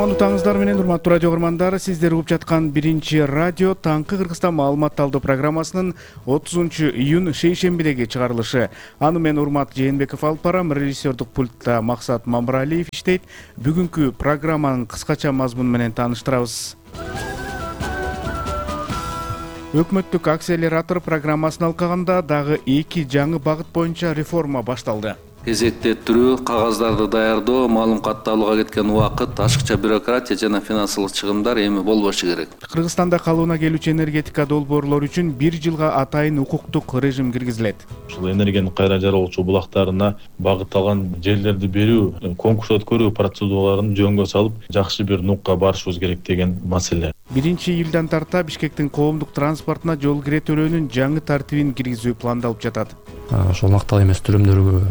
Кутмандуу таңыңыздар менен урматтуу радио көрөрмандар, сиздер угуп жаткан биринчи радио Таңкы Кыргызстан маалымат талдоо программасынын 30-июнь шейшембидеги чыгарылышы. Аны мен Урмат Жээнбеков алып барам, режиссердук пультта Максат Мамыралиев иштейт. Бүгүнкү программанын кыскача мазмуну менен тааныштырабыз. Өкмөттүк акселератор программасын алкаганда дагы 2 жаңы багыт боюнча реформа башталды. Кезектеттирүү, кагаздарды даярдоо, маалыматты алууга кеткен убакыт, ашыкча бюрократия жана финансылык чыгымдар эми болбошу керек. Кыргызстанда калыбына келүүчү энергетика долбоорлору үчүн 1 жылга атайын укуктук режим киргизилет. Ушул энергияны кайра жаргалоочу булактарына багытталган жерлерди берүү, конкурс өткөрүү процедураларын жөнгө салып, жакшы бир нукка барышыбыз керек деген маселе. 1-июлдан тарта Бишкектин коомдук транспортуна жол кире төлөөнүн жаңы тартибин киргизүү пландалып жатат. Ошол мактал эмес түрүмдөргө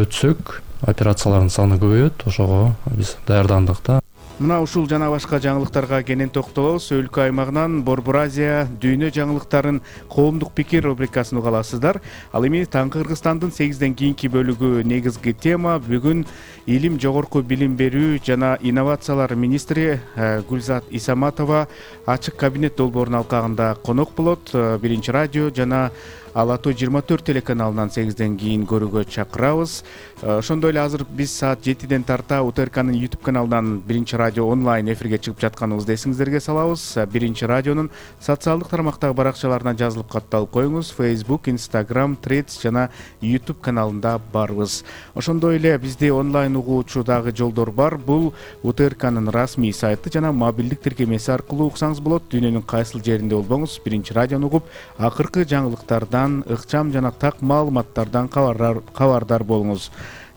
өтсөк, операциялардын саны көбөйөт, ошого биз даярдандык да. Мына ушул жана башка жаңылыктарга кенен токтолобуз. Өлкө аймагынан Борбор Азия дүйнө жаңылыктарын коомдук пикир рубрикасын уга аласыздар. Ал эми Таңкы Кыргызстандын 8ден кийинки бөлүгү негизги тема бүгүн илим, жогорку билим берүү жана инновациялар министри Гүлзат Исаматова ачык кабинет долбоорун алкагында конок болот. Биринчи радио жана Ала Тоо 24 телеканалынан 8ден кийин көрүүгө чакырабыз. Ошондой эле азыр биз саат 7ден тарта УТРКнын YouTube каналынан Биринчи радио онлайн эфирге чыгып жатканыбызды эсиңиздерге салабыз. Биринчи радионун социалдык тармактагы баракчаларына жазылып катталып коюңуз. Facebook, Instagram, Threads жана YouTube каналында барбыз. Ошондой эле бизди онлайн угуучу дагы жолдор бар. Бул УТРКнын расмий сайты жана мобилдик тиркемеси аркылуу уксаңыз болот. Дүйнөнүн кайсыл жеринде болбоңуз, Биринчи радиону угуп, акыркы жаңылыктардан, ыкчам жана так маалыматтардан кабардар болуңуз.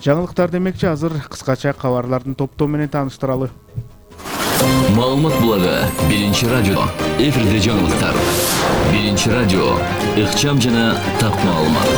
Жаңылыктар демекчи, азыр кыскача кабарлардын топтоо менен тааныштыралы. Маалымат булагы Биринчи радио. Эфирде жаңылыктар. Биринчи радио. Ыкчам жана так маалымат.